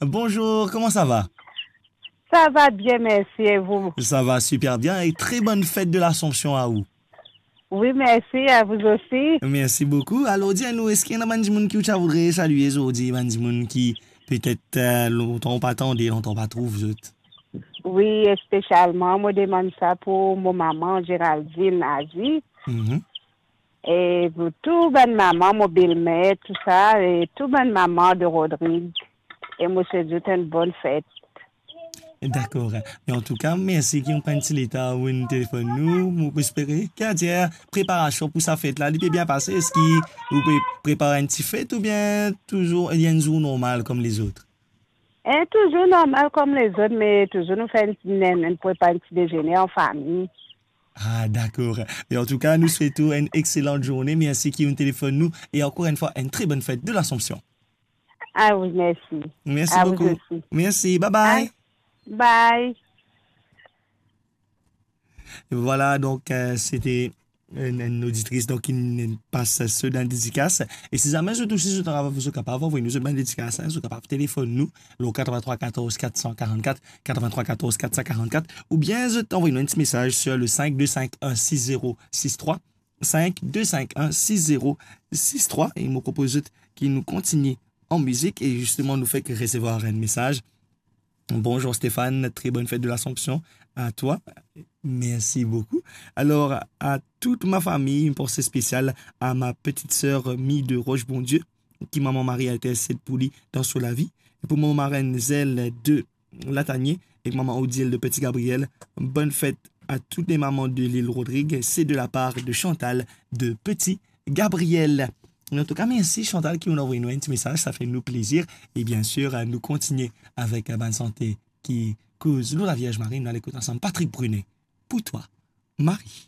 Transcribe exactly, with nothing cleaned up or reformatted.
Bonjour, comment ça va ? Ça va bien, merci, et vous ? Ça va super bien et très bonne fête de l'Assomption à vous. Oui, merci, à vous aussi. Merci beaucoup. Alors, dis-nous, est-ce qu'il y a des gens qui vous voudrais saluer aujourd'hui, des gens qui peut-être euh, longtemps pas tendé, longtemps pas trouvé, vous autres ? Oui, spécialement, moi, je demande ça pour mon maman, Géraldine Azi. Mhm. E pou tou bann mama, mo belmer, tou sa, e tou bann mama de Rodrig, e mo swet zot enn bonn fet. Dakor. Me antouka, mersi ki ou pran ti letan pou vinn telefonn nou. Mo espere ki, adir, preparasion pou sa fet la, li pe bien pase. Eski ou pe prepar enn ti fet oubien touzour enn zour normal kom lezot? E touzour normal kom lezot, me touzour nou fer enn, enn, enn, prepar enn ti dezene an fami. Ah, dakor. Me antouka, nou swet ou enn exelan zourne. Mersi ki ou telefonn nou. E ankor enn fwa, enn tre bonn fet de l'Assomption. Ah oui, mersi. Mersi boukou. A vous aussi. Mersi, bye bye. Bye. Vwala, donk, euh, sete enn, enn oditris, donk, ki pas so bann dedikas. E si zame zot osi, zot kapav, zot kapav anvoy nou zot bann dedikas, hein, zot kapav telefonn nou, lor quatre-vingt-trois quatorze quatre cent quarante-quatre, quatre-vingt-trois quatorze quatre cent quarante-quatre, oubien zot anvoy nou enn ti mesaz sur le cinq deux cinq un six zéro six trois, cinq deux cinq un six zéro six trois, e mo propoz zot ki nou kontigne an mizik, e zisteman nou fek resevwar enn mesaz. Bonjour Stéphane, très bonne fête de l'Assomption à toi. Merci beaucoup. Alors, à toute ma famille, une pensée spéciale à ma petite sœur Mi de Roche Bondieu, ki Mama Mari intercède pour lui dans son lavi. Et pour mon marraine Zelle de Latanier et maman Odile de Petit Gabriel, bonne fête à toutes les mamans de l'île Rodrigue. C'est de la part de Chantal de Petit Gabriel. En tout cas, merci Chantal qui nous a envoyé un petit message, ça fait nous plaisir. Et bien sûr, euh, nous continuons avec, euh, Bonne Santé qui cause nous la Vierge Marie. Nous allons écouter ensemble Patrick Brunet. Pour toi, Marie.